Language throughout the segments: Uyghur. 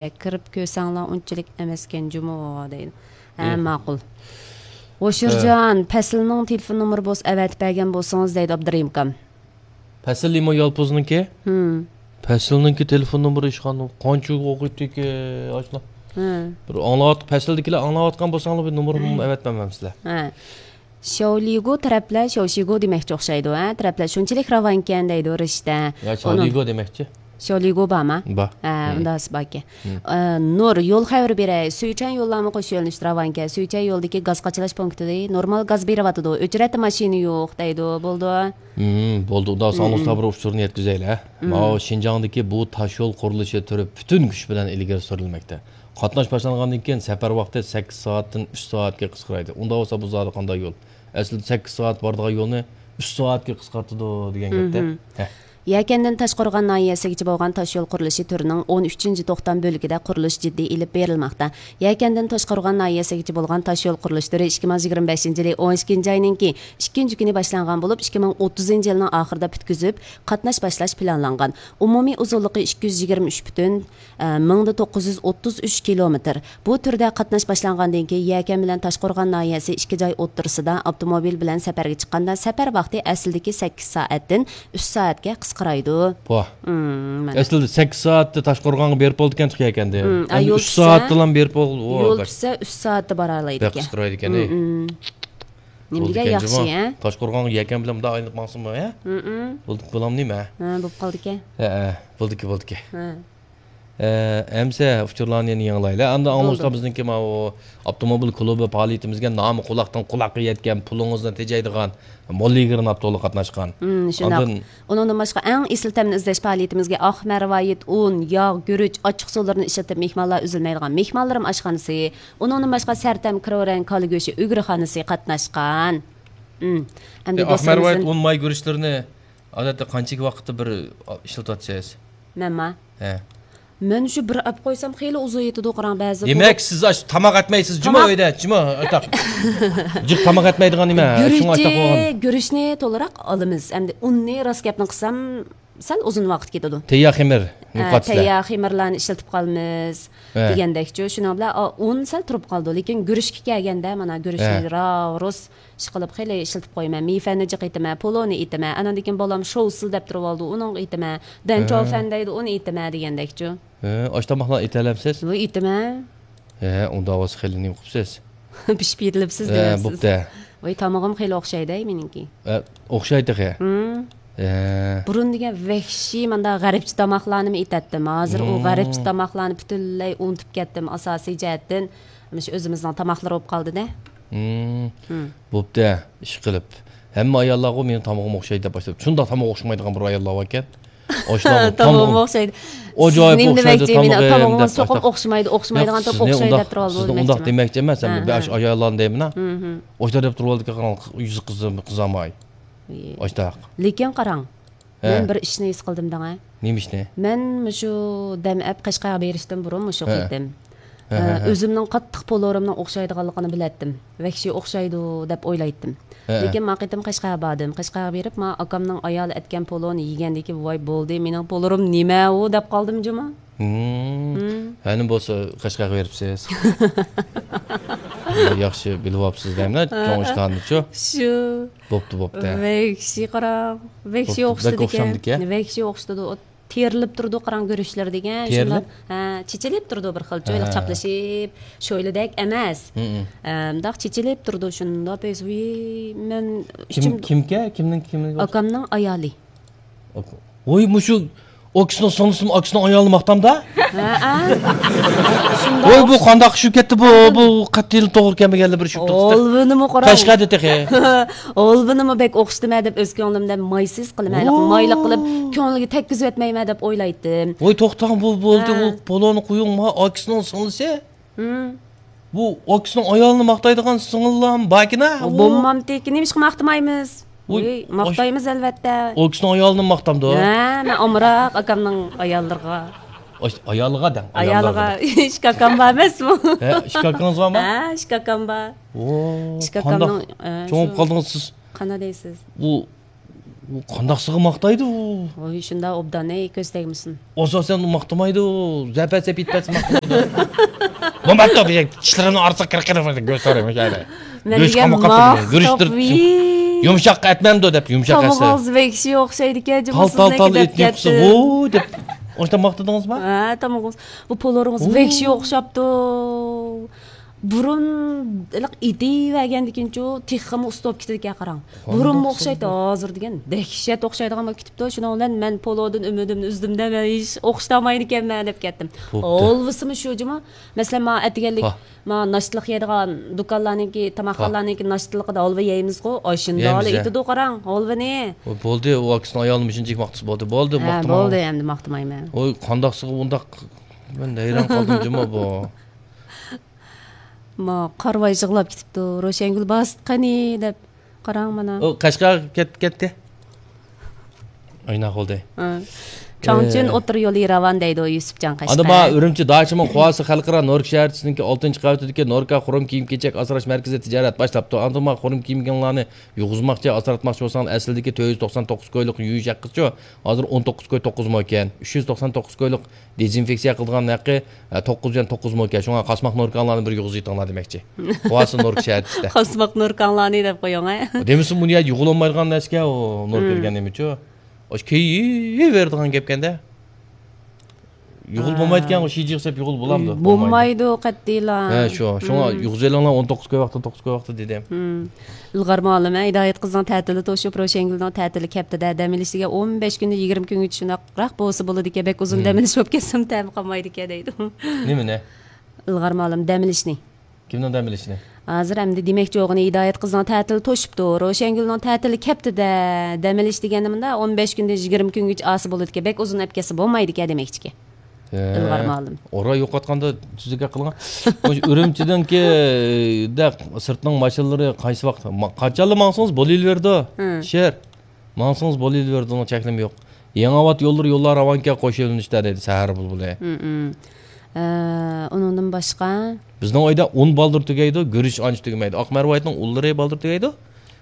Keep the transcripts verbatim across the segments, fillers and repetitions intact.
كىرىپ كۆرسەڭلار ئۇنچىلىك ئەمەسكەن جۇمۇ دەيدۇ. ھە، ماقۇل. ھوشۇرجان، پەسىلنىڭ تېلېفون نومۇرى بولسا ئەۋەتىپ بەرگەن بولسىڭىز دەيدۇ ئابدۇرېھىم ئاكام. پەسىلمۇ يالپۇزنىڭكى؟ ھىم. پەسىلنىڭكى تېلېفون نومۇرى ھېچقانداق قانچە ئوقۇيتتىكى ئاشۇلا. ھە. بىر ئاڭلاۋاتقان، پەسىلدىكىلەر ئاڭلاۋاتقان بولساڭلار بىر نومۇرنى ئەۋەتمەمسىلەر؟ ھە. شياۋلىگو تەرەپلەر شياۋشىگو دېمەكچى ئوخشايدۇ، ھە، تەرەپلەر شۇنچىلىك راۋانكەن دەيدۇ رىشتە. يا شياۋلىگو دېمەكچى. شياۋلىگو بارما؟ بار. ھە، ئۇنداق باركەن. ئە، نۇر، يول خەۋىرى بېرەي. سۈيچەن يوللارمۇ قوشۇش يۆنىلىشىدە راۋانكەن. سۈيچەن يولىدىكى گاز قاچىلاش پونكىتى نورمال گاز بېرىۋاتىدۇ. ئۆچرەتتە ماشىنا يوق دەيدۇ. بولدى. ھىم، بولدى. ئۇنداق ساڭا بىر ئۇچۇرنى يەتكۈزەيلى، ھە؟ ماۋۇ شىنجاڭدىكى بۇ تاشيول قۇرۇلۇشى تۈرى پۈتۈن كۈچ بىلەن ئىلگىرى سۈرۈلمەكتە. قاتناش باشلانغاندىن كېيىن سەپەر ۋاقتى سەككىز سائەتتىن ئۈچ سائەتكە قىسقىرايدۇ. ئۇنداق بولسا بۇ زادى قانداق يول؟ ئەسلىدە سەككىز سائەت بارىدىغان يولنى ئۈچ سائەتكە قىسقارتىدۇ دېگەن گەپتە. ھە. يەكەندىن تاشقورغان ناھىيەسىگىچە بولغان تاشيول قۇرۇلۇشى تۈرىنىڭ ئون ئۈچىنچى توختام بۆلىكىدە قۇرۇلۇش جىددىي ئېلىپ بېرىلماقتا. يەكەندىن تاشقورغان ناھىيەسىگىچە بولغان تاشيول قۇرۇلۇش تۈرى ئىككى مىڭ يىگىرمە بەشىنچى يىلى ئون ئىككىنچى ئاينىڭكى ئىككىنچى كۈنى باشلانغان بولۇپ، ئىككى مىڭ ئوتتۇزىنچى يىلنىڭ ئاخىرىدا پۈتكۈزۈپ، قاتناش باشلاش پىلانلانغان. ئومۇمىي ئۇزۇنلۇقى ئىككى يۈز يىگىرمە ئۈچ پۈتۈن، ئە، مىڭدا توققۇز يۈز ئوتتۇز ئۈچ كىلومېتىر. بۇ تۈردە قاتناش باشلانغاندىن كېيىن، يەكەن بىلەن تاشقورغان ناھىيەسى ئىككى جاي ئوتتۇرىسىدا ئاپتوموبىل بىلەن سەپەرگە چىققاندا، سەپەر ۋاقتى ئەسلىدىكى سەككىز سائەتتىن ئۈچ سائەتكە قىسقىرايدۇ. ۋاھ. مم، مانا. ئەسلىدە سەككىز سائەتتە تاشقورغانغا بېرىپ بولىدىكەن يەكەندە. مم، ئا، ئەمدى يول ئۈچ سائەتتىلا بېرىپ بول-، ئۇ، يول بەك، پۈتسە ئۈچ سائەتتە بارالايدىكەن. بەك قىسقىرايدىكەن، ئەي. مم، مم. نېمە دېگەن ياخشى، ھە؟ تاشقورغانغا يەكەن بىلەن مۇنداق ئايلىنىپ ماڭسىمۇ، ھە؟ مم، مم. بولدى، بولامدۇ نېمە؟ ھە، بولۇپ قالدىكەن. ھە، ھە، بولدىكى، بولدىكى. ھە. ئە، ئەمسە ئۇچۇرلارنى يەنە يېڭىلايلى. ئەمدى ئاڭلىغۇچىلار بىزنىڭكى ماۋۇ ئاپتوموبىل كۇلۇبى پائالىيىتىمىزگە نامى قۇلاقتىن قۇلاققا يەتكەن، پۇلىڭىزنى تېجەيدىغان موللىگىر ناپتولى قاتناشقان. ھىم، شۇنداق. ئاندىن ئۇنىڭدىن باشقا، ئەڭ ئېسىل تەمنى ئىزدەش پائالىيىتىمىزگە ئاق مەرۋايىت، ئۇن، ياغ، گۈرۈچ، ئاچچىق سۇلىرىنى ئىشلىتىپ، مېھمانلار ئۈزۈلمەيدىغان مېھمانلىرىم ئاشخانىسى، ئۇنىڭدىن باشقا، سەرتەم كىرورەن كالا گۆشى ئۈگرىخانىسى قاتناشقان. ھىم، ئەمدى ئە، ئاق مەرۋايىت، ئۇن، ماي، گۈرۈچلىرىنى ئادەتتە قانچىلىك ۋاقىتتا بىر ئىشلىتىۋاتىسىز؟ مەنما؟ ھە. مەن شۇ بىر ئەپ قويسام خېلى ئۇزىيىۋېتىدۇ، قاراڭ، بەزىدە دېمەك، سىز ئاش-، تاماق ئەتمەيسىز جۇمۇ تاماق ئۆيدە، جۇمۇ ئۆتەق. جىق تاماق ئەتمەيدىغان نېمە؟ شۇڭا ئاشتاق بولغان. گۈرۈچنى تولىراق ئالىمىز. ئەمدى ئۇننى راست گەپنى قىلسام، سەل ئۇزۇن ۋاقىت كېتىدۇ. تەييار خېمىر، ھە، تەييار خېمىرلارنى ئىشلىتىپ قالىمىز، ھە، دېگەندەكچۇ. شۇنىڭ بىلەن، ئا، ئۇن سەل تۇرۇپ قالىدۇ. لېكىن گۈرۈچكە كەلگەندە، مانا، گۈرۈچنى، ھە، راۋرۇس ئىشقىلىپ خېلى ئىشلىتىپ قويىمەن. مېيفەننى جىق ئېتىمەن، پولۇنى ئېتىمەن. ئاناندىن كېيىن بالام شوۋسىل دەپ تۇرۇۋالىدۇ، ئۇنىڭغا ئېتىمەن. دەنچاۋفەن دەيدۇ، ئۇنى ئېتىمەن دېگەندەكچۇ. ھە، ئاشۇ تاماقلارنى ئېتەلەمسىز؟ ۋاي، ئېتىمەن. ھە، ئۇنداق بولسا خېلى نېمە قىپسىز؟ پىشىپ يېتىلىپسىز دەيمەن سىز. بوپتۇ. ۋاي، تامىقىم خېلى ئوخشايدۇ مېنىڭكى. ھە، ئوخشايدۇ خېلى. ھە. بۇرۇن دېگەن ۋەھشىي مانداق غەربچە تاماقلارنىمۇ ئېتەتتىم. ھازىر ئۇ غەربچە تاماقلارنى پۈتۈنلەي ئۇنتۇپ كەتتىم ئاساسىي جەھەتتىن. مۇشۇ ئۆزىمىزنىڭ تاماقلىرى بولۇپ قالدىدە. ھىم. ھىم. بوپتۇ، ئىشقىلىپ. ھەممە ئاياللارغۇ مېنىڭ تامىقىم ئوخشايدۇ دەپ باشلاپ. شۇنداق تاماق ئوخشىمايدىغان بىر ئاياللار باركەن. ئاشۇلارمۇ تامىقىم ئوخشايدۇ. ئاجايىپ ئوخشايدۇ تامىقىم دەپ. سىزنى ئۇنداق دېمەكچى ئەمەس، مەن بىر بەش ئاياللارنى دەيمەن. ئاشۇلار دەپ تۇرۇۋالىدىكەن، قاراڭ، يۈزى قىزىماي. ئاشتاق. لېكىن قاراڭ، ھە، مەن بىر ئىشنى ھېس قىلدىم دەڭە. نېمە ئىشنى؟ مەن مۇشۇ دەم ئەپ قەشقەرگە بېرىشتىن بۇرۇن مۇشۇ قېتىم، ھە، ھە، ئە، ھە، ئۆزۈمنىڭ قاتتىق پولۇرۇمنىڭ ئوخشايدىغانلىقىنى بىلەتتىم. ۋەھشىي ئوخشايدۇ دەپ ئويلايتتىم. ھە، ھە. لېكىن ما قېتىم قەشقەرگە باردىم. قەشقەرگە بېرىپ، ما ئاكامنىڭ ئايالى ئەتكەن پولۇنى يېگەندىن كېيىن، ۋاي بولدى، مېنىڭ پولۇرۇم نېمە ئۇ دەپ قالدىم جۇمۇ. ھىم. ھىم. ھەنە بولسا قەشقەرگە بېرىپسىز. ياخشى بىلىۋاپسىز دەيمەن، ھە، چوڭ ئىشخانىنىچۇ. شۇ. بوپتۇ، بوپتۇ. ۋەھشىي قاراڭ. ۋەھشىي ئوخشىتىدىكەن. ۋەھشىي ئوخشىتىدۇ. تېرىلىپ تۇرىدۇ، قاراڭ، گۈرۈچلىرى دېگەن. تېرىلىپ؟ شۇنداق، ھە، چېچىلىپ تۇرىدۇ بىر خىل، چويلۇق، ھە، چاپلىشىپ، شويلىدەك ئەمەس. ھىم، ھىم. ئە، مۇنداق چېچىلىپ تۇرىدۇ، شۇنداق بەس، ۋىي، مەن كىم، ئىچىم كىمكە؟ كىمنىڭ، كىمنىڭ؟ ئاكامنىڭ ئايالى. ۋوي، مۇشۇ ئاكىسىنىڭ سىڭلىسىمۇ ئاكىسىنىڭ ئايالىنى ماختامدا؟ ھەئە. شۇنداق. ۋوي، بۇ قانداق چۈشۈپ كەتتى بۇ؟ بۇ قەتئىيلا توغرا كەلمىگەنلا بىر چۈشۈپ تۇرۇپتۇ. ھولۋىنىمۇ قاراڭ. قەشقەردە تېخى. ھولۋىنىمۇ بەك ئوخشىتىمەن دەپ ئۆز كۆڭلۈمدە مايسىز قىلىمەن، ھېلىقى مايلىق قىلىپ كۆڭلىگە تەگكۈزۈۋەتمەيمەن دەپ ئويلايتتىم. ۋوي، توختاڭ، بۇ بولدى، ھە. ئۇ پولونى قويۇڭ، ما ئاكىسىنىڭ سىڭلىسى. ھىم. بۇ ئاكىسىنىڭ ئايالىنى ماختايدىغان سىڭىللارمۇ باركىنا؟ بولمامتىكى، نېمىشقا ماختىمايمىز؟ ۋوي، ماختايمىز ئەلۋەتتە. ئاكىسىنىڭ ئايالىنى ماختامدۇ؟ ھە، مەن ئامراق ئاكامنىڭ ئاياللىرىغا. ئايالىغا دەڭ. ئايالىغا. ئىككى ئاكام بار ئەمەسمۇ؟ ھە، ئىككى ئاكىڭىز بارمۇ؟ ھە، ئىككى ئاكام بار. ۋو، ئىككى ئاكامنىڭ، قانداق، ھە، چوڭ بولۇپ قالدىڭىز سىز. قانداق دەيسىز؟ بۇ ئۇ قانداقسىغا ماختايدۇ ئۇ؟ ۋوي، شۇنداق ئوبدان، ئەي، كۆز تەگمىسۇن. ئاساسەن ئۇ ماختىمايدۇ. زەپەت سەپ يىتپەتسە ماختىمايدۇ. بولماپتۇ، بىزنىڭ چىشلىرىمنى ئارىسىغا كىرىپ، كىرىپ، كۆز تارىمىز يەنى. مەن گۆش دېگەن قاماق قاپتۇ، ماختاپ، گۆشتۇر ۋىي. يۇمشاق ئەتمەمدۇ دەپ، يۇمشاق ئەتسە. تامىقىڭىز ۋەھشىي ئوخشايدىكەن، جۇمۇ، تال، تال، سىزنىڭكى تال، دەپ ئېتىنى يۇقىسى، كەتتىم. ۋوي دەپ. ئاشۇنداق ماختىدىڭىزمۇ؟ ھە، تامىقىڭىز. بۇ پولۇرىڭىز ۋەھشىي ئوخشاپتۇ. بۇرۇن ھېلىقى ئېتىۋەرگەندىكىنچۇ تېخىمۇ ئۇستا بولۇپ كېتىدىكەن، قاراڭ. بۇرۇنمۇ ئوخشايتتى، ھازىر دېگەن دەھشەت ئوخشايدىغان بولۇپ كېتىپتۇ. شۇنىڭ بىلەن مەن پولۇدىن ئۈمىدىمنى ئۈزدۈم-دە، مەن ھېچ ئوخشىتالمايدىكەنمەن دەپ كەتتىم. بوپتۇ. ھالۋىسىمۇ شۇ جۇمۇ. مەسىلەن، مانا ئەتىگەنلىك، ھا. مانا ناشتىلىق يەيدىغان دۇكانلارنىڭكى، تاماقخانىلارنىڭكى ناشتىلىقىدا ھالۋا يەيمىزغۇ، ئاشۇنداق يەيمىز، ھە. ئېتىدۇ، قاراڭ، ھالۋىنى. بۇ بولدى، ئۇ ئاكىسىنىڭ ئئايالىنى مۇشۇنچىلىك ماختىسا بولدى. بولدى، ھە، ماختىماڭ. بولدى، ئەمدى ماختىمايمەن. ۋوي، قانداقسىغا ئۇنداق، مەن ھەيران قالدىم جۇمۇ بۇ. ما، قارىۋاي يىغلاپ كېتىپتۇ. روشەنگۈل باستى قېنى دەپ. قاراڭ مانا. ئۇ قەشقەرگە كەت-، كەتتى. ئاينا قىلدى. ھە. چاڭچۈن ئوتتۇرا يولى راۋان دەيدۇ، يۈسۈپجان قەشقەر. ئاندىن ما ئۈرۈمچى داچىمۇ قۇۋاسى خەلقئارا نوركا شەھەرچىسىنىڭكى ئالتىنچى قەۋىتىدىكى نوركا خۇرۇم كىيىم-كېچەك ئاسراش مەركىزى تىجارەت باشلاپتۇ. ئاندىن ما خۇرۇم كىيىم-كېچەكلەرنى يۇغۇزماقچى، ئاسراتماقچى بولساڭلار، ئەسلىدىكى تۆت يۈز توقسان توققۇز كويلۇق يۇيۇش ھەققىچۇ، ھازىر ئون توققۇز كوي توققۇزمۇ ئىكەن. ئۈچ يۈز توقسان توققۇز كويلۇق دېزىنفېكسىيە قىلىدىغان ھەققى، ھە، توققۇز يۈەن توققۇزمۇ ئىكەن. شۇڭا قاسماق نوركاڭلارنى بىر يۇغۇزۇۋېتىڭلار دېمەكچى. قۇۋاسى نوركا شەھەرچىسىدە. قاسماق نوركاڭلارنى دەپ قويۇڭ، ھە. دېمىسىمۇ بۇنى يۇغۇلالمايدىغان نەرسىكەن ئۇ، نوركا دېگەن نېمىچۇ؟ ئاشۇ كېيىۋېرىدىغان گەپكەندە. يۇغۇل بولمايدىكەن، شىجىغا سەپ يۇغۇل بولامدۇ؟ بولمايدۇ قەتئىيلا. ھە، شۇ. شۇڭا يۇغۇزۇۋېلىڭلار، ئون توققۇز كوي ۋاقتى، توققۇز كوي ۋاقتى دېدىم. ئىلغار مۇئەللىم، ھىدايەت قىزنىڭ تەتىلى توشۇپ، روشەنگۈلنىڭ تەتىلى كەپتىدە، دەم ئېلىش دېگەن ئون بەش كۈندە يىگىرمە كۈنگىچە شۇنداقراق بولسا بولىدىكەن، بەك ئۇزۇن دەم ئېلىش بولۇپ كەتسىمۇ تەمى قالمايدىكەن دەيدۇ. نېمىنى؟ ئىلغار مۇئەللىم، دەم ئېلىشنى. كىمنىڭ دەم ئېلىشىنى؟ ھازىر ئەمدى دېمەكچى بولغىنى، ھىدايەت قىزنىڭ تەتىلى توشۇپتۇ، روشەنگۈلنىڭ تەتىلى كەپتىدە، دەم ئېلىش دېگەندە مۇنداق ئون بەش كۈندىن يىگىرمە كۈنگىچە ئالسا بولىدىكەن، بەك ئۇزۇن ئەپ كەتسە بولمايدىكەن دېمەكچىكەن. ھە. ئىلغار مۇئەللىم. ئورا يوقاتقاندا تۈزۈك گەپ قىلغان. مۇشۇ ئۈرۈمچىدىنكى دە سىرتنىڭ ماشىنىلىرى قايسى ۋاقىت، ما-، قاچانلا ماڭسىڭىز بولۇۋېرىدۇ. ھە. شېئىر. ماڭسىڭىز بولۇۋېرىدۇ، چەكلىمە يوق. يېڭىئاۋات يوللىرى يوللار راۋانكەن قوش يۆنىلىشتە دەيدۇ سەھەر بۇلبۇلى. ھە، ھە. ئە، ئۇنىڭدىن باشقا؟ بىزنىڭ ئۆيدە ئۇن بالدۇر تۈگەيدۇ، گۈرۈچ ئانچە تۈگىمەيدۇ. ئاق مەرۋايىتنىڭ ئۇنلىرى بالدۇر تۈگەيدۇ.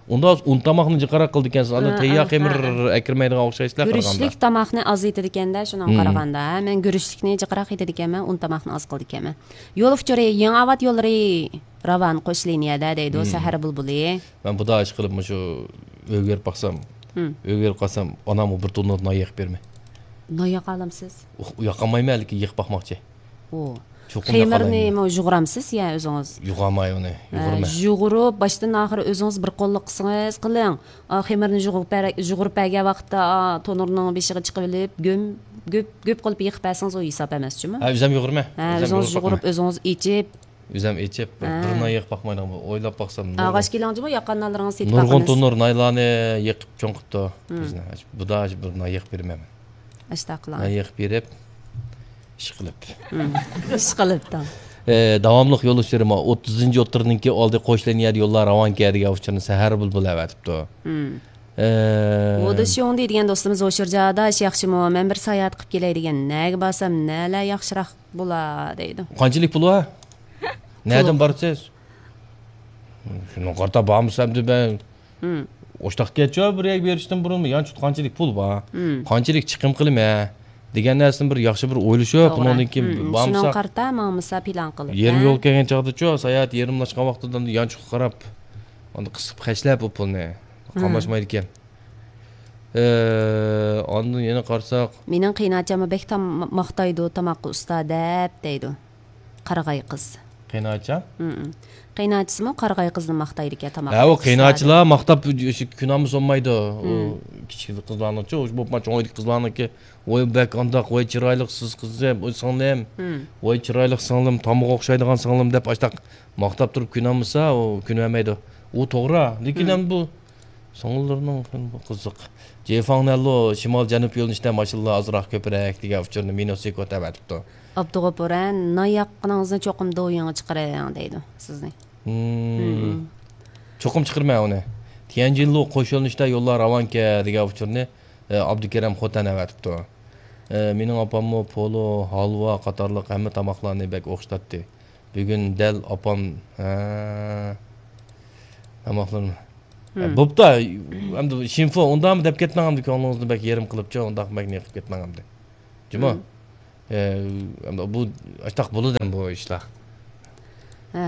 ئۇندا ئۇن تاماقنى جىقراق قىلىدىكەنسىز. ئاندىن ھە، تەييار ھە، خېمىر ھە، ھە. ئەكىرمەيدىغان ئوخشايسىلەر قارىغاندا. گۈرۈچلۈك تاماقنى ئاز ئېتىدىكەندە، شۇنىڭغا قارىغاندا. ھە، مەن گۈرۈچلۈكنى جىقراق ئېتىدىكەنمەن، ئۇن تاماقنى ئاز قىلىدىكەنمەن. يول ئۇچۇرى، يېڭىئاۋات يوللىرى راۋان قوش لىنىيەدە دەيدۇ، سەھەر بۇلبۇلى. مەن بۇدا ئىشقىلىپ مۇشۇ ئۆيگە بېرىپ باقسام، ئۆيگە بېرىپ قالسام، ئانامغا بىر توننىدىن نان يېقىپ بېرىمەن. نان ياقالامسىز؟ ئۇھ، ياقالمايمەن، لېكىن يېقىپ باقماقچى. ئۇ. چوقۇم ياقالايمەن. خېمىرنىمۇ يۇغۇرامسىز يا ئۆزىڭىز؟ يۇغاماي ئۇنى، ھە، يۇغۇرىمەن. يۇغۇرۇپ، باشتىن ئاخىر ئۆزىڭىز بىر قوللۇق قىلسىڭىز قىلىڭ. ئا، خېمىرنى يۇغۇرۇپ بەر-، يۇغۇرۇپ بەرگەن ۋاقىتتا، ئا، تونۇرنىڭ بېشىغا چىقىۋېلىپ، گۆم-، گۆپ، گۆپ قىلىپ يېقىپ بەرسىڭىز، ئۇ ھېساب ئەمەسچۇمۇ؟ ھە، ئۆزۈم يۇغۇرىمەن. ھە، ئۆزىڭىز يۇغۇرۇپ، ئۆزىڭىز ئېچىپ. ئۆزۈم ئېچىپ، بىر، ھە. بىر نان يېقىپ باقمايدىغان بولدۇم. ئويلاپ باقسام، ئاغاچ كېلىڭ جۇمۇ، ياققان نانلىرىڭىزنى سېتىپ نۇرغۇن باقىمىز. تونۇر نانلارنى يېقىپ چوڭ قىپتۇ بىزنى. بۇدا بىر نان يېقىپ بېرىمەن مەن. ئاشۇنداق قىلىڭ. نان يېقىپ بېرىپ، ئىشقىلىپ. ئىشقىلىپ دەڭ. ئە، داۋاملىق يول ئۇچۇرى، مانا، ئوتتۇزىنچى ئوتتۇرىنىڭكى ئالدى قوش لىنىيەدە يوللار راۋانكەن دېگەن ئۇچۇرنى سەھەر بۇلبۇلى ئەۋەتىپتۇ. ئە، ۋودېشيوڭدى دېگەن دوستىمىز، ھوشۇرجا ئاداش، ياخشىمۇ؟ مەن بىر ساياھەت قىلىپ كېلەي دېگەن. نەگە بارسام، نەلەر ياخشىراق بولا دەيدۇ. قانچىلىك پۇل بار؟ نەدىن بارىسىز؟ شۇنىڭغا قارىتا بارمىسا ئەمدى مەن ئوشتاق كەتچۇ بىر يەرگە بېرىشتىن بۇرۇن يانچۇقتا قانچىلىك پۇل بار؟ قانچىلىك چىقىم قىلىمەن؟ دېگەن نەرسىنى بىر ياخشى بىر ئويلىشىپ، توغرا. ئۇنىڭدىن كېيىن بارمىساق. شۇنىڭغا قارىتا ماڭمىسا پىلان قىلىپ، يېرىم يول كەلگەن چاغدىچۇ، ساياھەت يېرىملاشقان ۋاقتىدا يانچۇققا قاراپ، ئاندىن قىسىپ خەجلەپ ئۇ پۇلنى. قاملاشمايدىكەن. ئە، ئاندىن يەنە قارىساق. مېنىڭ قېيىنئاچاممۇ بەك تام-، ماختايدۇ، تاماققا ئۇستا دەپ دەيدۇ. قارىغاي قىز. قېيىنئاچا؟ ھىم. قېيىنئاچىسىمۇ قارىغاي قىزنى ماختايدىكەن، تاماققا ھە، ئۇ ئۇستا دەپ. قېيىنئاچىلار ماختاپ، كۈنامىسى بولمايدۇ. ئۇ كىچىك قىزلارنىڭچۇ، ئۇ بولۇپمۇ چوڭ ئۆيدىكى قىزلارنىڭكى، ۋاي بەك ئانداق، ۋاي چىرايلىقسىز قىزىم، ۋاي سىڭلىم، ۋاي چىرايلىق سىڭلىم، تامغا ئوخشايدىغان سىڭلىم دەپ ئاشتاق ماختاپ تۇرۇپ كۈنامىسا، ئۇ كۈنۈۋەرمەيدۇ. ئۇ توغرا، لېكىن ھەم بۇ سىڭىللىرىنىڭ قىزىق. جېفاڭنەنلۇ شىمال جەنۇب يۆنىلىشتە ماشىنىلار ئازراق كۆپرەك دېگەن ئۇچۇرنى مىنۇسى كۆتەۋەتىپتۇ. ئابدۇغوپۇر، ھە، نان ياققىنىڭىزنى چوقۇم دوۋيىڭغا چىقىرىڭ دەيدۇ سىزنى. ھىم. چوقۇم چىقىرىمەن ئۇنى. تيەنجىنلۇ قوش يۆنىلىشتە يوللار راۋانكەن دېگەن ئۇچۇرنى، ئە، ئابدۇكېرەم خوتەن ئەۋەتىپتۇ. ئە، مېنىڭ ئاپاممۇ پولۇ، ھالۋا قاتارلىق ھەممە تاماقلارنى بەك ئوخشىتاتتى. بۈگۈن دەل ئاپام، ھە، تاماقلىرىم. بوپتۇ، ئەمدى شىنفو ئۇنداقمۇ دەپ كەتمەڭ، ئەمدى كۆڭلىڭىزنى بەك يېرىم قىلىپچۇ، ئۇنداق بەك نېقىپ كەتمەڭ ئەمدى. جۇمۇ. ئە، ئەمدى بۇ ئاشتاق بولىدۇ ئەمدى بۇ ئىشلار. ھە،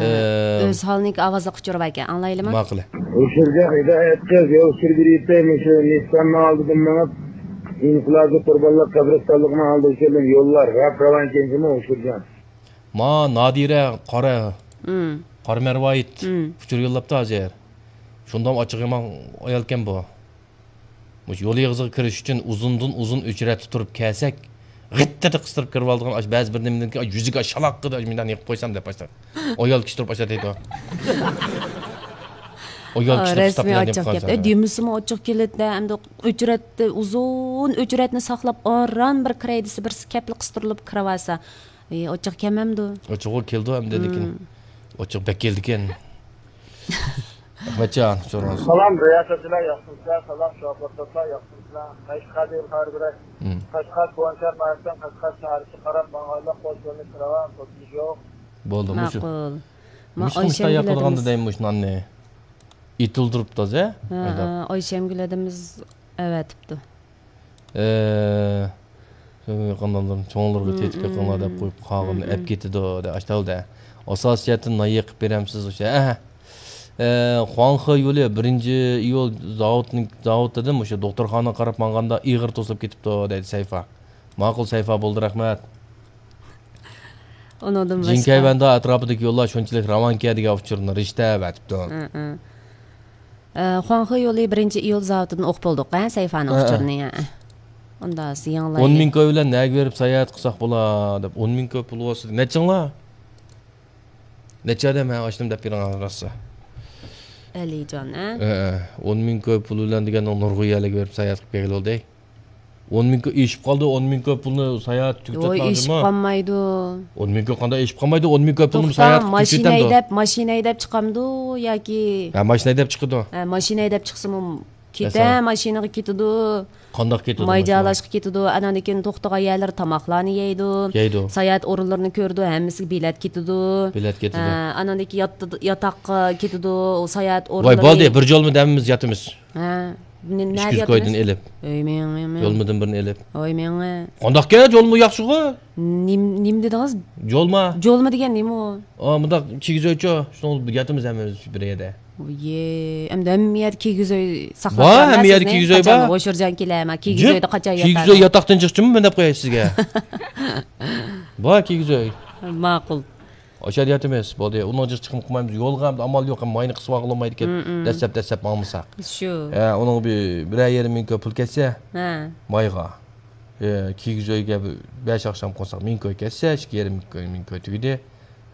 ئۆز ھالىنىڭكى ئاۋازلىق ئۇچۇرى باركەن، ئاڭلايلىمۇ؟ ماقۇل. ئوشۇرجاق ھىدايەت قىز يول سۈرگۈلۈيتى مۇشۇ نىسساننىڭ ئالدىدىن مېڭىپ، ئىنقىلابىي قۇربانلىق قەبرىستانلىقىنىڭ ئالدىغا كېلىپ يوللار راپ راۋان ئىكەنسىمۇ ئوشۇرجان؟ ما نادىرە قارا، قارا مەرۋايىت ئۇچۇر يوللاپتۇ ھازىر. شۇنداق ئاچچىق يامان ئايالكەن بۇ. مۇشۇ يول ئېغىزىغا كىرىش ئۈچۈن ئۇزۇندىن ئۇزۇن ئۆچرەتتە تۇرۇپ كەلسەك، غىتتىدە قىستۇرۇپ كىرىۋالىدىغان ئاش بەزى بىر نېمىدىن كېيىن ئاش يۈزىگە ئاش شالاققىدە ئاش مۇنداق نېقىپ قويسام دەپ باشلاپ. ئايال كىشى تۇرۇپ ئاشا دەيدۇ. ئايال كىشى تۇرۇپ رەسمىي ئاشتاق ئاچچىق دەپ كەتتى. دېمىسىمۇ ئاچچىق كېلىدىدە، ئەمدى ئۆچرەتتە ئۇزۇن ئۆچرەتنى ساقلاپ ئاران بىر كىرەي دېسە، بىرسى كەپلا قىستۇرۇلۇپ كىرىۋالسا، ئاچچىق كەلمەمدۇ؟ ئاچچىق كېلىدۇ ئەمدى، لېكىن ئاچچىق بەك كېلىدىكەن. ئەخمەتجان، سورىڭىز. سالام رىياسەتچىلەر، ياخشىمۇسىلەر؟ سالام شوپۇرداشلار، ياخشىمۇسىلەر؟ قەشقەر دېگەن خەۋەر بېرەي. قەشقەر كوۋانچار مەھەللىسىدىن قەشقەر شەھەرگىچە قاراپ ماڭغانلار قوش يولنى كىرىۋال، توسۇلۇش يوق. بولدى، مۇشۇ. ماقۇل. مۇشۇ ئايشەمگۈل ئاكىمىز دەيمەن مۇشۇ ناننى. ئېتىلدۈرۈپتۇ ھازىر. ھە، ھە، ئايشەمگۈل ھەدىمىز ئەۋەتىپتۇ. ئە، قانداقلار، چوڭلىرىغا تېتىپ بېقىڭلار دەپ قويۇپ، قالغىنىنى ئەپ كېتىدۇ، دە، ئاشتاۋۇلدە. ئاساسىي جەھەتتىن نان يېقىپ بېرەمسىز، ئوشۇ. ئە، ئە، خۇاڭخې يولى بىرىنچى ئىيۇل زاۋۇتنىڭ، زاۋۇت دېدىم، ئوشۇ دوختۇرخانىغا قاراپ ماڭغاندا ئېغىر توسۇلۇپ كېتىپتۇ، دەيدۇ سەيفا. ماقۇل، سەيفا، بولدى، رەھمەت. ئۇنىڭدىن باشقا جىنكەيۋەندە ئەتراپىدىكى يوللار شۇنچىلىك راۋانكەن دېگەن ئۇچۇرنى رىشتە ئەۋەتىپتۇ. ئە، ئە. ئە، خۇاڭخې يولى بىرىنچى ئىيۇل زاۋۇتىدىن ئوقۇپ بولدۇق، ھە، سەيفانىڭ ئۇچۇرىنى، ھە. ئۇندا سىز يېڭىلايلى. ئون مىڭ كوي بىلەن نەگە بېرىپ ساياھەت قىلساق بولا دەپ، ئون مىڭ كوي پۇل بولسا، نەچچىڭلار؟ نەچچە ئادەم، ھە، ئاشتىم دەپ بېرىڭ راسا. ئەلىجان، ھە؟ ھە، ھە. ئون مىڭ كوي پۇل بىلەن دېگەننىڭ نۇرغۇن يەرلەرگە بېرىپ ساياھەت قىلىپ كەلگىلى بولدى. ئون مىڭ كوي ئېشىپ قالدى، ئون مىڭ كوي پۇلنى ساياھەت تۈگىتىپ يوق، ئېشىپ قالمايدۇ. ئون مىڭ كوي قانداق ئېشىپ قالمايدۇ؟ ئون مىڭ كوي پۇلنى ساياھەت تۈگىتەمدۇ؟ توختا، ماشىنا ھەيدەپ، ماشىنا ھەيدەپ چىقامدۇ ياكى؟ ھە، ماشىنا ھەيدەپ چىقىدۇ. ھە، ماشىنا ھەيدەپ چىقسىمۇ كېتە، ماشىنىغا كېتىدۇ. قانداق كېتىدۇ ماي ماشىنا؟ جالاشقا كېتىدۇ. ئاناندىن كېيىن توختىغان يەرلىرى تاماقلارنى يەيدۇ. يەيدۇ. ساياھەت ئورۇنلىرىنى كۆرىدۇ، ھەممىسىگە بىلەت كېتىدۇ. بىلەت كېتىدۇ. ھە، ئاناندىن كېيىن ياتىدۇ، ياتاققا كېتىدۇ، ساياھەت ئورۇنلىرى. ۋاي، بولدى، بىر جولمىدا ھەممىمىز ياتىمىز. ھە. ئىككى يۈز كويدىن ئېلىپ. ھوي مېڭە، مېڭە. جولمىدىن بىرنى ئېلىپ. ھوي مېڭە. قانداقكەن، جولما ياخشىغۇ؟ نېمە، نېمە دېدىڭىز؟ جولما. جولما دېگەن نېمە ئۇ؟ ئا، مۇنداق كىگىز ئۆيچۇ، شۇنىڭدا ياتىمىز ھەممىمىز بىر يەردە. ۋوي، ئەمدى ھەممە يەردە كىگىز ئۆي ساقلاپ بار، ھەممە يەردە كىگىز ئۆي بار. قاچان ھوشۇرجان كېلە، مانا كىگىز ئۆيدە قاچان ياتىمىز؟ كىگىز ئۆي ياتاقتىن چىقىچىمۇ مەن دەپ قوياي سىزگە. بار كىگىز ئۆي. ماقۇل. ئاشۇ يەردە ياتىمىز، بولدى. ئۇنىڭ جىق چىقىمۇ قىلمايمىز. يولغا ئەمدى ئامال يوق، ماينى قىسىۋالغىلى بولمايدىكەن. دەسسەپ، دەسسەپ ماڭمىساق. شۇ. ھە، ئۇنىڭ بىر، بىرەر يېرىم مىڭ كوي پۇل كەتسە، ھە، مايغا. ئە، كىگىز ئۆيگە بىر بەش ئاخشام قونساق، مىڭ كوي كەتسە، ئىككى يېرىم مىڭ كوي، مىڭ كوي تۈگىدى.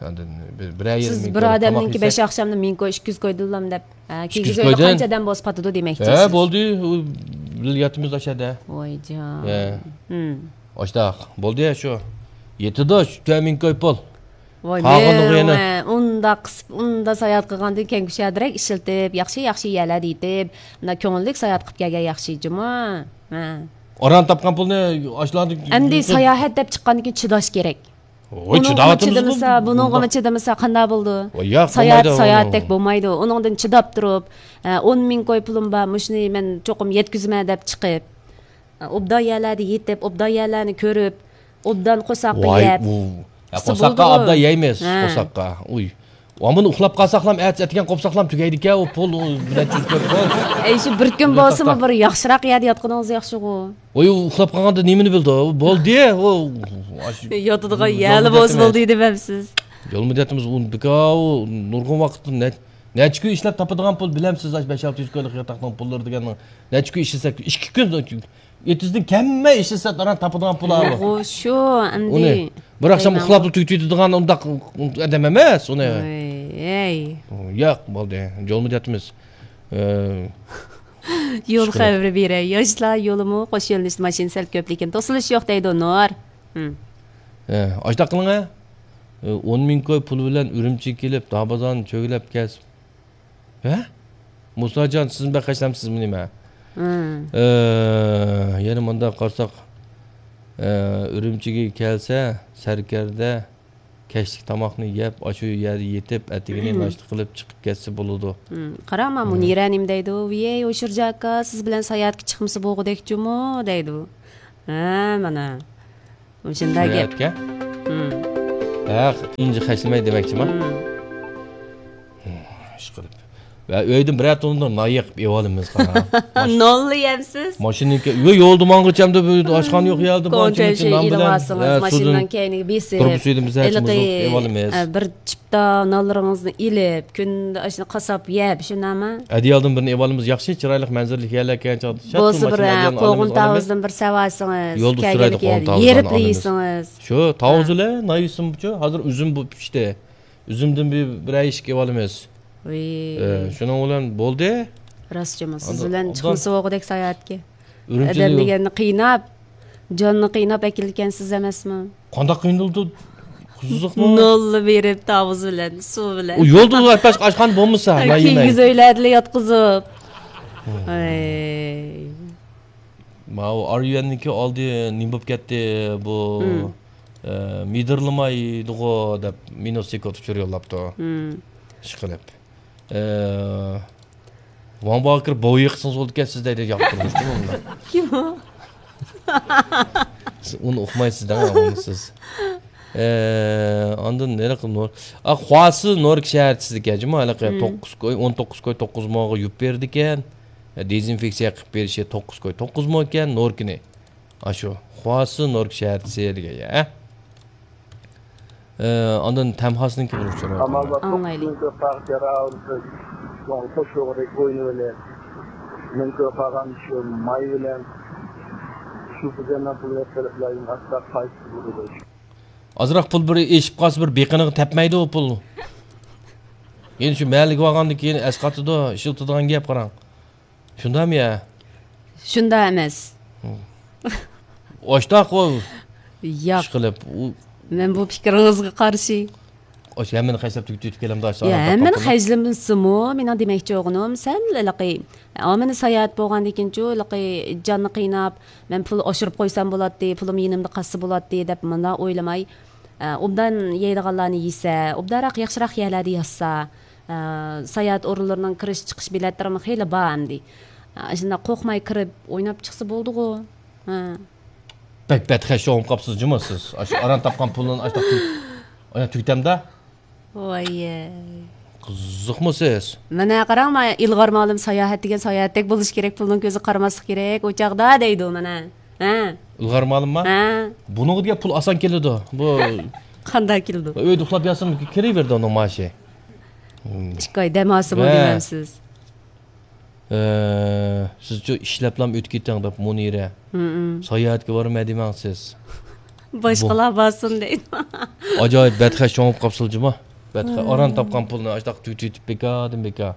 ئاندىن بىر، بىرەر يېرىم مىڭ كوي تاماق يېسەك. سىز بىر ئادەمنىڭكى بەش ئاخشامدا مىڭ كوي، ئىككى يۈز كوي دېدىلام دەپ. ھە، كىگىز ئۆيدە قانچە ئادەم بولسا پاتىدۇ دېمەكچى سىز. ھە، بولدى. ئۇ بىللە ياتىمىز ئاشەدە. ۋايجان. ھە. ھىم. ئاشتاق. بولدى يا شۇ. يېتىدۇ، شۇ تۆت مىڭ كوي پۇل. ۋاي، قالغىنىغا يەنە. مېڭە، ئۇنداق قىسىپ، ئۇنداق ساياھەت قىلغاندىن كېيىن كۇشادىرەك ئىشلىتىپ، ياخشى، ياخشى يەرلەردە يېتىپ، مۇنداق كۆڭۈللۈك ساياھەت قىلىپ كەلگەن ياخشى جۇمۇ. ھە. ئاران تاپقان پۇلنى ئاشۇلارنى. ئەمدى ساياھەت دەپ چىققاندىن كېيىن چىداش كېرەك. ۋاي، ئۇنىڭغىمۇ چىداۋاتىمىزغۇ. چىدىمىسا، بۇنىڭغىمۇ چىدىمىسا، قانداق بولىدۇ؟ ۋاي، ياق، ساياھەت، بولمايدۇ، ساياھەتتەك بولمايدۇ. ئۇنىڭدىن چىداپ تۇرۇپ، ئە، ئون مىڭ كوي پۇلۇم بار، مۇشۇنى مەن چوقۇم يەتكۈزىمەن دەپ چىقىپ، ئە، ئوبدان يەرلەردە يېتىپ، ئوبدان يەرلەرنى كۆرۈپ، ئوبدان قورساققا يەپ. ۋاي، ئۇ. ھە، قورساققا ئوبدان يەيمىز، قورساققا. ئۇي. ئامما ئۇخلاپ قالساقلام، ئەتىسى ئەتىگەن قوپساقلام تۈگەيدىكەن، ئۇ پۇل، ئۇ بىلەن چۈشكەن پۇل. ئەي، شۇ بىر كۈن بولسىمۇ بىر ياخشىراق يەردە ياتقىنىڭىز ياخشىغۇ. ۋاي، ئۇ ئۇخلاپ قالغاندا نېمىنى بىلىدۇ؟ بولدى، ئۇ، ئاشۇ، ياتىدىغان يەرلا بولسا بولدى دېمەمسىز؟ يولمۇ دەتمىز، ئۇ بىكار، ئۇ نۇرغۇن ۋاقىتتا نە-، نەچچە كۈن ئىشلەپ تاپىدىغان پۇل، بىلەمسىز، ئاشۇ بەش-ئالتە يۈز كويلۇق ياتاقنىڭ پۇللىرى دېگەننىڭ نەچچە كۈن ئىشلىسەك، ئىككى كۈن، ئېتىزدىن كەممە ئىشلىسە، ئاران تاپىدىغان پۇل ئۇ. شۇ، ئەمدى. ئۇنى بىر ئاخشام ئۇخلاپلا تۈگىتىدىغان ئۇنداق ئادەم ئەمەس، ئۇنى. ۋاي، ھەي. ياق، بولدى، يولمۇ دەتمىز. ئە، يول خەۋىرى بېرەي. ياشلار يولىمۇ قوش يۆنىلىشتە ماشىنا سەل كۆپ، لېكىن توسۇلۇش يوق دەيدۇ نۇر. ھىم. ئە، ئاشتاق قىلىڭە. ئە، ئون مىڭ كوي پۇل بىلەن ئۈرۈمچىگە كېلىپ، دابازاننى چۆگىلەپ كەلسە. ھە؟ مۇساجان، سىزمۇ بەك خەجلەمسىزمۇ نېمە؟ ھىم. ئە، يەنە مۇنداق قارىساق، ئە، ئۈرۈمچىگە كەلسە، سەركەردە، كەچلىك تاماقنى يەپ، ئاشۇ يەردە يېتىپ، ئەتىگىنى ناشتا قىلىپ چىقىپ كەتسە بولىدۇ. ھىم، قاراڭ، مانا مۇنىرە نېمە دەيدۇ؟ ۋىيەي، ھوشۇرجا ئاكا، سىز بىلەن ساياھەتكە چىقمىسا بولغۇدەكچۇمۇ؟ دەيدۇ. ھە، مانا. مۇشۇنداق گەپ. ساياھەتكە؟ ھىم. ھە، ئۇنچە خەجلىمەي دېمەكچىما؟ ھىم. ئىشقىلىپ. ۋە ئۆيدىن بىرەر توننا نان يېقىپ ئېۋالىمىز، قاراڭ. نانلا يەمسىز؟ ماشىنىنىڭكى، يو-، يولدا ماڭغىچە ئەمدى بۇ ئاشخانا يوق يەردە، كونتەينېر ئېلىۋالسىڭىز، ھە، ماشىنىنىڭ كەينىگە بېسىپ. تۇرۇبا سۈيىدىن بىز ھەر كىمىز ئېۋالىمىز. ئە، بىر چىپتا نانلىرىڭىزنى ئېلىپ، كۈندە ئاشۇنى قاساپ يەپ، شۇنداقمۇ؟ ئەدىيالدىن بىرنى ئېۋالىمىز، ياخشى، چىرايلىق مەنزىرىلىك يەرلەر كەلگەن چاغدا. بولسا بىر، ھە، قوغۇن تاۋۇزدىن بىر سەۋەلسىڭىز، يولدا ئۇچرايدۇ، قوغۇن تاۋۇزلارنى ئېرىپلا يەيسىڭىز. شۇ تاۋۇز بىلەن نان يېسىمچۇ، ھازىر ئۈزۈم بۇ پىشتى. ئۈزۈمدىن بىر، بىرەر يېشىك ئېۋالىمىز. ۋىي. ئە، شۇنىڭ بىلەن بولدى. راستچىمۇ، سىز بىلەن چىقمىسا بولغۇدەك ساياھەتكە. ئادەم دېگەننى قىيناپ، جاننى قىيناپ ئەكېلىدىكەنسىز ئەمەسمۇ؟ قانداق قىينىلىدۇ؟ قىزىقمۇ؟ نانلا بېرىپ، تاۋۇز بىلەن، سۇ بىلەن. ئۇ يولدا ئۇ باشقا ئاشخانا بولمىسا، نان يېمەي. كىگىز ئۆيلەردىلا ياتقۇزۇپ. ھىم. ئەي. ماۋۇ ئاريۇئەننىڭكى ئالدى نېمە بولۇپ كەتتى بۇ؟ ھىم. ئە، مىدىرلىمايدىغۇ دەپ مىنۇس سېكۇت ئۇچۇر يوللاپتۇ. ھىم. ئىشقىلىپ. ئە، ۋاڭ باغا كىرىپ بوۋا يىقىسىڭىز بولىدىكەن سىز دەيدۇ، ياقتۇرمىشتىمۇ ئۇنى. كىم ئۇ؟ سىز ئۇنى ئۇقمايسىز دەڭ، ئۇنى سىز. ئە، ئاندىن ھېلىقى نور، ئا، خۇاسى نورك شەھەرچىسىدىكەن جۇمۇ، ھېلىقى ھىم. توققۇز كوي، ئون توققۇز كوي توققۇز موغا يۇپ بېرىدىكەن. دېزىنفېكسىيە قىلىپ بېرىشى توققۇز كوي توققۇز مو ئىكەن، نوركىنى. ئاشۇ خۇاسى نورك شەھەرچىسى دېگەن يەر. ئە، ئاندىن تەمخاسنىڭكى بىر ئۇچۇرى بار. ئاڭلايلى. ئازراق پۇل بىر ئېشىپ قالسا، بىر بېقىنىغا تەپمەيدۇ ئۇ پۇل. يەنە شۇ مەھەللىگە بارغاندىن كېيىن ئەسقاتىدۇ، ئىشلىتىدىغان گەپ، قاراڭ. شۇنداقمۇ يا؟ شۇنداق ئەمەس. ھىم. ئاشتاق ئۇ. ياق. ئىشقىلىپ، ئۇ مەن بۇ پىكرىڭىزگە قارشى. ئاشۇ ھەممىنى خەجلەپ تۈگىتىپ كېلەمدۇ، ئاشۇ يا، ئاران ھەممىنى تاپقان پۇلنى؟ خەجلىمىسىمۇ، مېنىڭ دېمەكچى بولغىنىم، سەل ھېلىقى، ئامىنى ساياھەت بولغاندىن كېيىنچۇ، ھېلىقى جاننى قىيناپ، مەن پۇل ئاشۇرۇپ قويسام بولاتتى، پۇلۇم يېنىمدا قالسا بولاتتى دەپ مۇنداق ئويلىماي، ئە، ئوبدان يەيدىغانلارنى يېسە، ئوبدانراق، ياخشىراق يەرلەردە ياتسا، ئە، ساياھەت ئورۇنلىرىنىڭ كىرىش چىقىش بېلەتلىرىمۇ خېلى بار ئەمدى. ئە، شۇنداق قورقماي كىرىپ ئويناپ چىقسا بولدىغۇ. ھە. بەك بەتخەش چوڭۇپ قاپسىز جۇمۇ سىز. ئاشۇ ئاران تاپقان پۇلنى ئاشۇنداق تۈگ-، ئانا تۈگىتەمدە. ۋاييەي. قىزىقمۇ سىز؟ مانا قاراڭ، مانا ئىلغار مالىم ساياھەت دېگەن ساياھەتتەك بولۇش كېرەك، پۇلنىڭ كۆزىگە قارىماسلىق كېرەك، ئۇ چاغدا دەيدۇ مانا. ھە. ئىلغار مالىمما؟ ھە. بۇنىڭغا دېگەن پۇل ئاسان كېلىدۇ. بۇ قانداق كېلىدۇ؟ ئۆيدە ئۇخلاپ ياتسىمۇ كېلىۋېرىدۇ ئۇنىڭ مائاشى. ئىككى ئاي دەم ئالسىمۇ ھە. دېمەمسىز؟ ئە، سىزچۇ ئىشلەپلام ئۆتۈپ كېتىڭ دەپ مۇنىرە. ھىم. ساياھەتكە بارىمەن دېمەڭ سىز. باشقىلار بارسۇن دەيدۇ. ئاجايىپ بەتخەش چوڭۇپ قاپسىلە جۇما. بەتخەش. ھىم. ئاران تاپقان پۇلنى ئاشتاق تۈگىتىۋېتىپ بىكاردىن بىكار.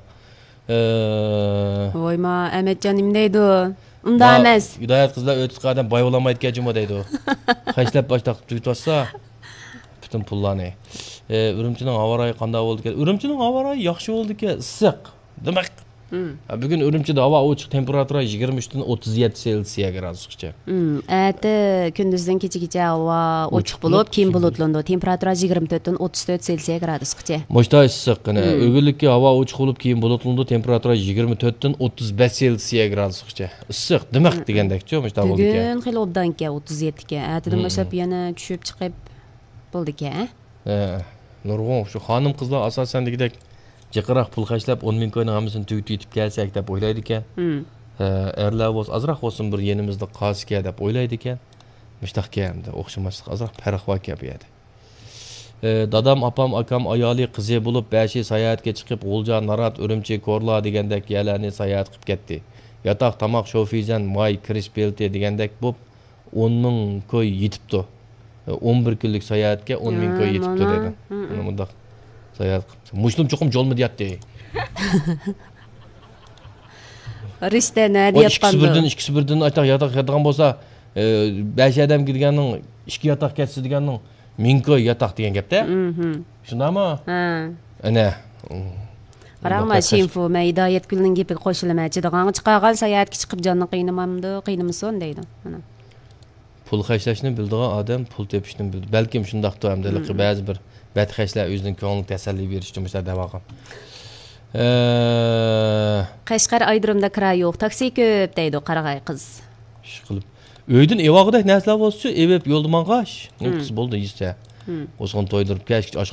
ئە، ۋايما، ئەمەتجان نېمە دەيدۇ؟ ئۇنداق ئەمەس. ھىدايەت قىزلار ئۆتۈپ ئادەم باي بولالمايدىكەن جۇما دەيدۇ. خەجلەپ ئاشتاق تۈگىتىۋاتسا پۈتۈن پۇللارنى. ئە، ئۈرۈمچىنىڭ ھاۋا رايى قانداق بولىدىكەن؟ ئۈرۈمچىنىڭ ھاۋا رايى ياخشى بولىدىكەن، ئىسسىق. دىمىق. ھىم. ھە، بۈگۈن ئۈرۈمچىدە ھاۋا ئوچۇق، تېمپېراتۇرا يىگىرمە ئۈچتىن ئوتتۇز يەتتە سېلسىيە گرادۇسقىچە. ھىم. ئەتە كۈندۈزدىن كېچىگىچە ھاۋا ئوچۇق ئوچۇق بولۇپ، بولۇپ، كېيىن كېيىن بۇلۇتلىنىدۇ. تېمپېراتۇرا يىگىرمە تۆتتىن ئوتتۇز تۆت سېلسىيە گرادۇسقىچە. مۇشتا ئىسسىق، قېنى. ھىم. ئۆگۈنلۈككە ھاۋا ئوچۇق بولۇپ، كېيىن بۇلۇتلىنىدۇ. تېمپېراتۇرا يىگىرمە تۆتتىن ئوتتۇز بەش سېلسىيە گرادۇسقىچە. ئىسسىق، دىمىق ھىم. دېگەندەكچۇ، مۇشتا بولىدىكەن. بۈگۈن خېلى ئوبدانكەن، ئوتتۇز يەتتىكەن. ئەتىدىن ھىم. باشلاپ يەنە چۈشۈپ چىقىپ بولىدىكەن. ھە، نۇرغۇن شۇ خانىم قىزلار ئاساسەن دېگۈدەك جىقراق پۇل خەجلەپ، ئون مىڭ كوينىڭ ھەممىسىنى تۈگىتىپ كەلسەك دەپ ئويلايدىكەن. ھىم. ھە، ئەرلەر بولسا ئازراق بولسۇن بىر يېنىمىزدا قالسىكەن دەپ ئويلايدىكەن. مۇشتاقكەن ئەمدى، ئوخشىماسلىق ئازراق پەرق باركەن بۇ يەردە. ئە، دادام، ئاپام، ئاكام، ئايالى، قىزى بولۇپ بەشى ساياھەتكە چىقىپ، غۇلجا، نارات، ئۈرۈمچى، كورلا دېگەندەك يەرلەرنى ساياھەت قىلىپ كەتتى. ياتاق، تاماق، شوفىزەن، ماي، كىرىش بېلىتى دېگەندەك بوپ، ئون مىڭ كوي يېتىپتۇ. ئون بىر كۈنلۈك ساياھەتكە ئون مىڭ كوي ھە، يېتىپتۇ مانا. دەيدۇ. ھە، ھە. مانا مۇنداق ساياھەت قىپتۇ. مۇشۇلۇم چوقۇم جولمىدا ياتتى. رىشتە نەدە ياتقاندۇ؟ ئىككىسى بىردىن، ئىككىسى بىردىن ئاشتاق ياتاق ياتىدىغان بولسا، ئە، بەش ئادەمگە دېگەننىڭ ئىككى ياتاق كەتسە دېگەننىڭ مىڭ كوي ياتاق دېگەن گەپتە. مھم. شۇنداقمۇ؟ ھە. ئەنە. قاراڭ، مۇنداق مەن گەپ شىنفۇ، مەن ھىدايەتگۈلنىڭ گېپىگە قوشۇلىمەن. چىدىغانغا چىقارغان ساياھەتكە چىقىپ جاننى قىينىمامدۇ، قىينىمىسۇن دەيدۇ. مانا. پۇل خەجلەشنى بىلىدىغان ئادەم پۇل تېپىشنى بىلىدۇ. بەلكىم شۇنداقتۇ ئەمدى ھېلىقى مم. بەزى بىر بەتخەجلەر ئۆزىنىڭ كۆڭلىگە تەسەللى بېرىش ئۈچۈن مۇشۇنداق دەۋالغان. ئە، قەشقەر ئايرودرومدا كىرا يوق، تاكسى كۆپ دەيدۇ قارىغاي قىز. ئىشقىلىپ، ئۆيدىن ئېۋالغۇدەك نەرسىلەر بولسىچۇ، ئېۋىپ يولدا ماڭغاچ. نېمە قىلسا بولدى، يېسە. ئوزغان تويدۇرۇپ كەچكىچە ئاشخانا